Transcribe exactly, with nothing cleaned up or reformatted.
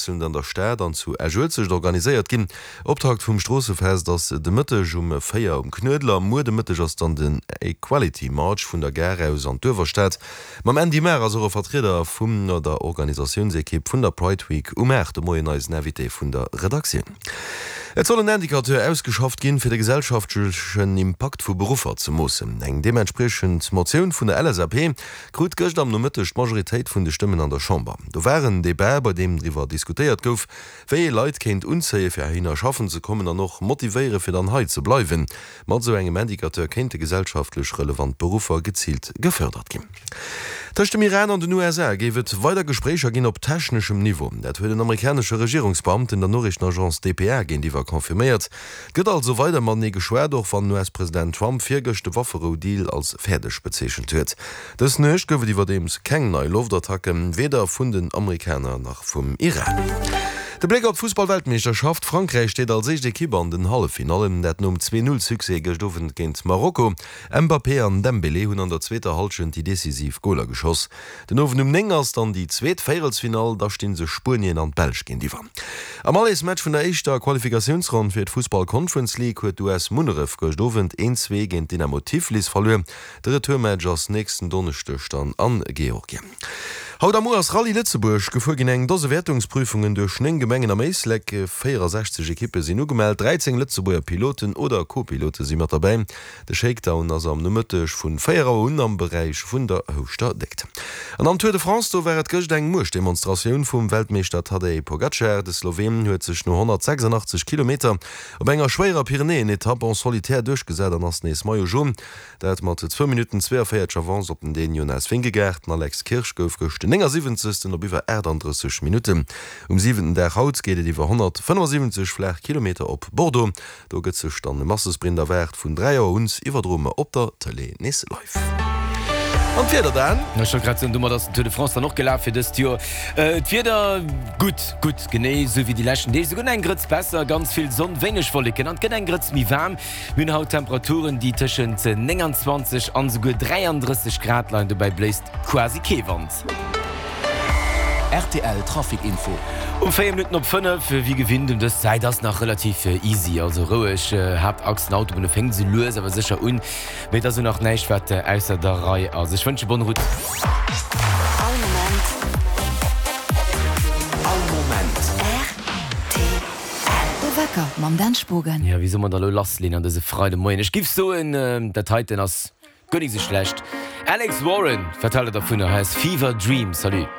ofwiesselnd an der Stad an zu Esch-Uelzecht organiséiert ginn. Optakt vum Stroossefest ass de Mëtteg um véier um Knuedler. Muer de Mëtteg ass dann den Equality March vun der Gare aus an d'Uewerstad. Mam Andy Maar ass och e Vertrieder vun der Organisatiounsekipp vun der Pride Week um aacht de Moien eisen Invité vun der Redaktioun. Et soll en Indicateur ausgeschafft ginn, fir de gesellschaftlechen Impakt vu Beruffer ze moossen. Eng deementspriechend Motioun vun der L S A P krut gëscht am Nomëtteg d'Majoritéit vun de Stëmmen an der Chamber. Do war en Debat, bei deem driwwer diskutéiert gouf, wéi ee Leit kéint unzéie fir heihinner schaffen ze kommen an och motivéiere fir dann hei ze bleiwen. Mat esou engem Indicateur kéinte gesellschaftlech relevant Beruffer geziilt gefërdert ginn. Tëscht dem Iran an den U S A géif et weider Gespréicher ginn op techneschem Niveau. Dat huet en amerikanesche Regierungsbeamten der Noriichtenagence D P A géintiwwer confirméiert. Et gëtt also weider matenee geschwat, och wann den U S-President Trump virgëscht de Wafferou-Deal als fäerdeg bezeechent huet. Dës Nuecht gouf et iwwerdeems keng nei Loftattacken, weder vun den Amerikaner nach vum Iran. De Bléck op d'Fussball-Weltmeeschterschaft, Frankräich steet als éischt Ekipp an den Halleffinallen, dat nom zwee-null-Succès gëscht Owend géint Marokko. Mbappé an Dembélé hunn an der zweeter Hallschent déi decisiv Goler geschoss. Den Owend um néng ass dann déi zweet Véierelsfinall, da sti sech Spuenien an d'Belsch géintiwwer. Am Allesmatch vun der éischter Qualifikatiounsronn fir d'Fussball Conference League huet d'U S Munneref gëscht Owend een zwee géint Dynamo Tiflis verluer. De Retourmatch ass nächsten Donneschdeg dann an Georgien. Haut a muer ass Rallye Lëtzebuerg gefuer ginn, eng Dose Wäertungsprüfungen duerch néng Gemengen am Éislek. véierundsechzeg Ekippe sinn ugemellt, dräizéng Lëtzebuerger Piloten oder Co-Pilote si mat derbäi. De Shakedown ass am Nomëtteg vun véier Auer un am Beräich vun der Houschter Déckt. An am Tour de France, do war et gëscht eng Muechtdemonstratioun vum Weltmeeschter Tadej Pogacar. De Sloween huet sech no honnertsechsundachtzeg Kilometer op enger schwéierer Pyrenäen-Etapp en solitaire duerchgesat an ass nees Maillot Jaune. Dat mat zwou Minutten zweeënvéierzeg Avance op den Dän Jonas Vingegaard. Den Alex Kirsch gouf gëscht den néngasiwwenzegsten op iwwer aachtanddrësseg Minutten. Um siwenten Dag haut geet et iwwer honnertfënnefosiwwenzeg flaach Kilometer op Bordeaux. Do gëtt sech dann e Massesprint erwaart. Vun dräi Auer un iwwerdroe mer op der Tëlee nees live. An d'Wieder dann? Ech wollt grad soen, domat ass den Tour de France dann och gelaf fir dëst Joer. D'Wieder, gutt, gutt, genee esou wéi déi leschten Deeg, souguer eng Grëtz besser, ganz vill Sonn, wéineg Wolleken an et gëtt eng Grëtz méi waarm. Mir hunn haut Temperaturen, déi tëschent nénganzwanzeg an esouguer dräiandrësseg Grad leien, dobäi bléist quasi kee Wand. R T L Trafic Info. Um véier Minutten op fënnef, wéi gewinnt um dës Zäit ass nach relativ easy, also roueg. Haaptachsen, Autobunne fänkt sou lues awer sécher un, mee et ass elo nach näischt wat ausser der Rei ass. Ech wënsche bonne route. All Moment. All Moment. R T L. De Wecker mam Dan Spogen. Jo, wéi soll mer da lo lassleeën an dëse Freidemoien? Ech giff soen, dat heiten ass guer nik sou schlecht. Alex Warren, wat haalt der dovunner? Hei ass Fever Dream. Salut.